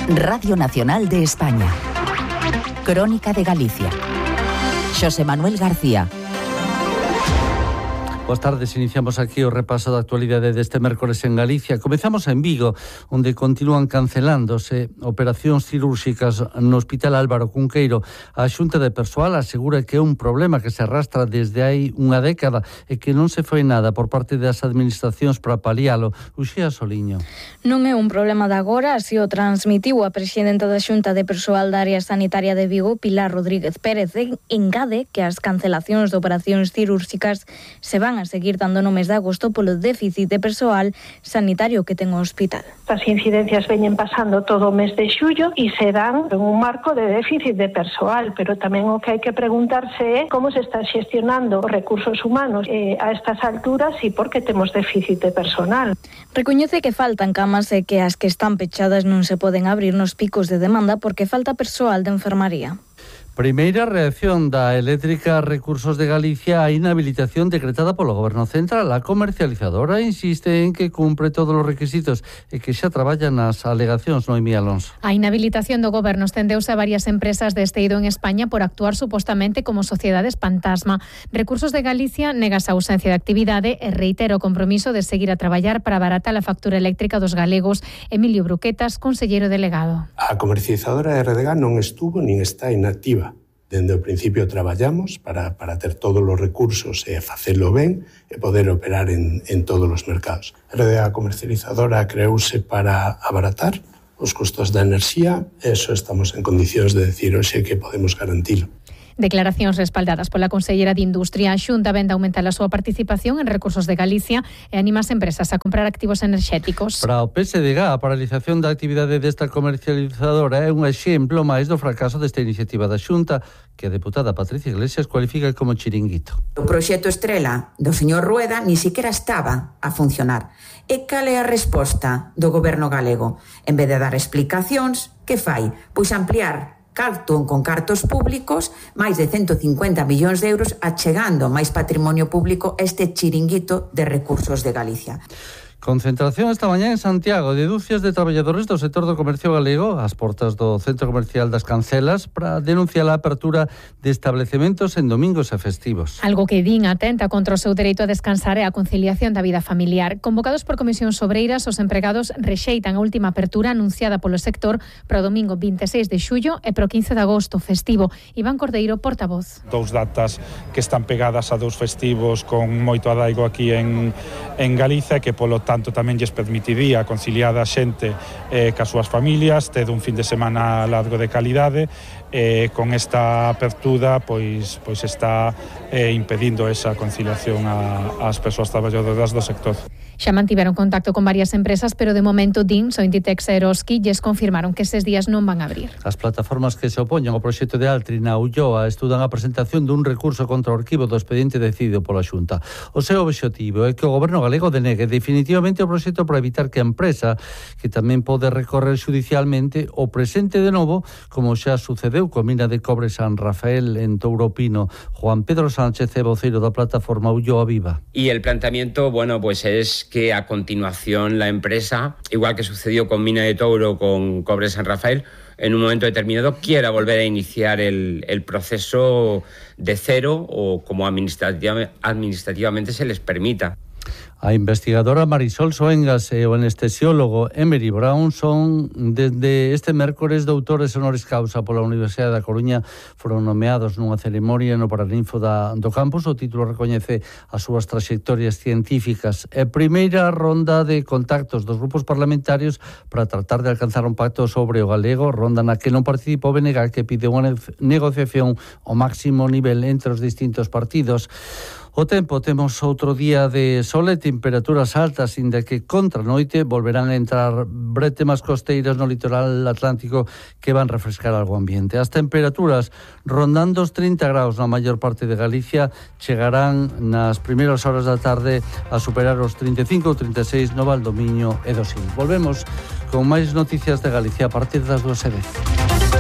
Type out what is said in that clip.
Radio Nacional de España. Crónica de Galicia. Xosé Manuel García. Boas tardes, iniciamos aquí o repaso da actualidade deste mércores en Galicia. Comezamos en Vigo, onde continúan cancelándose operacións cirúrxicas no Hospital Álvaro Cunqueiro. A Xunta de Persoal asegura que é un problema que se arrastra desde hai unha década e que non se foi nada por parte das administracións para palialo. Uxía Soliño. Non é un problema de agora, así o transmitiu a presidenta da Xunta de Persoal da Área Sanitaria de Vigo, Pilar Rodríguez Pérez, engade que as cancelacións de operacións cirúrxicas se van a seguir dando no mes de agosto polo déficit de persoal sanitario que ten o hospital. As incidencias veñen pasando todo o mes de xullo e se dan en un marco de déficit de persoal, pero tamén o que hai que preguntarse é como se está xestionando os recursos humanos a estas alturas e por que temos déficit de personal. Recoñece que faltan camas e que as que están pechadas non se poden abrir nos picos de demanda porque falta persoal de enfermaría. Primeira reacción da Eléctrica Recursos de Galicia á inhabilitación decretada polo Goberno Central. A comercializadora insiste en que cumpre todos os requisitos e que xa traballa nas alegacións, Noemí Alonso. A inhabilitación do Goberno estendeuse a varias empresas deste eido en España por actuar supostamente como sociedades fantasma. Recursos de Galicia nega esa ausencia de actividade e reitera o compromiso de seguir a traballar para abaratar a factura eléctrica dos galegos. Emilio Bruquetas, conselleiro delegado. A comercializadora RDG non estuvo nin está inactiva. Dende o principio traballamos para ter todos os recursos e facelo ben e poder operar en todos os mercados. A RDA comercializadora creouse para abaratar os custos da enerxía e eso estamos en condicións de decir hoxe que podemos garantilo. Declaracións respaldadas pola consellera de Industria. A Xunta vende aumentar a súa participación en Recursos de Galicia e anima as empresas a comprar activos enerxéticos. Para o PSDG, a paralización da actividade desta comercializadora é un exemplo máis do fracaso desta iniciativa da Xunta, que a deputada Patricia Iglesias cualifica como chiringuito. O proxecto estrela do señor Rueda ni siquiera estaba a funcionar. E cal é a resposta do goberno galego? En vez de dar explicacións, que fai? Pois ampliar con cartos públicos, máis de 150 millóns de euros, achegando máis patrimonio público a este chiringuito de Recursos de Galicia. Concentración esta mañá en Santiago de dúcias de traballadores do sector do comercio galego ás portas do Centro Comercial das Cancelas para denunciar a apertura de establecementos en domingos e festivos. Algo que din atenta contra o seu dereito a descansar e a conciliación da vida familiar. Convocados por comisións obreiras, os empregados rexeitan a última apertura anunciada polo sector para o domingo 26 de xullo e para o 15 de agosto festivo. Iván Cordeiro, portavoz. Dous datas que están pegadas a dous festivos con moito adaigo aquí en Galicia, que polo tanto tamén lles permitiría conciliar a xente cas súas familias, ter un fin de semana largo de calidade. Con esta apertura pois está impedindo esa conciliación ás persoas traballadoras do sector. Xa mantiveron contacto con varias empresas, pero de momento DIN, Soinditex e Eroski lles confirmaron que eses días non van a abrir. As plataformas que se opoñen ao proxecto de Altri na Ulloa estudan a presentación dun recurso contra o arquivo do expediente decidido pola Xunta. O seu obxectivo é que o goberno galego denegue definitivamente o proxecto para evitar que a empresa, que tamén pode recorrer xudicialmente, o presente de novo, como xa sucedeu coa mina de cobre San Rafael en Touropino. Juan Pedro Sánchez é voceiro da plataforma Ulloa Viva. Y el planteamiento, bueno, pues es que a continuación la empresa, igual que sucedió con Mina de Touro, con Cobre San Rafael, en un momento determinado quiera volver a iniciar el proceso de cero o como administrativamente se les permita. A investigadora Marisol Soengas e o anestesiólogo Emery Brown son desde este mércores doutores honoris causa pola Universidade da Coruña. Foron nomeados nunha ceremonia no Paraninfo do campus. O título recoñece as súas traxectorias científicas e primeira ronda de contactos dos grupos parlamentarios para tratar de alcanzar un pacto sobre o galego, ronda na que non participou BNG, que pide unha negociación ao máximo nivel entre os distintos partidos. O tempo, temos outro día de sol e temperaturas altas, inda que contra noite volverán a entrar bretemas costeiras no litoral atlántico que van refrescar algo ambiente. As temperaturas rondando os 30 graus na maior parte de Galicia chegarán nas primeiras horas da tarde a superar os 35 ou 36 no Valdomiño e do Sil. Volvemos con máis noticias de Galicia a partir das 2:10.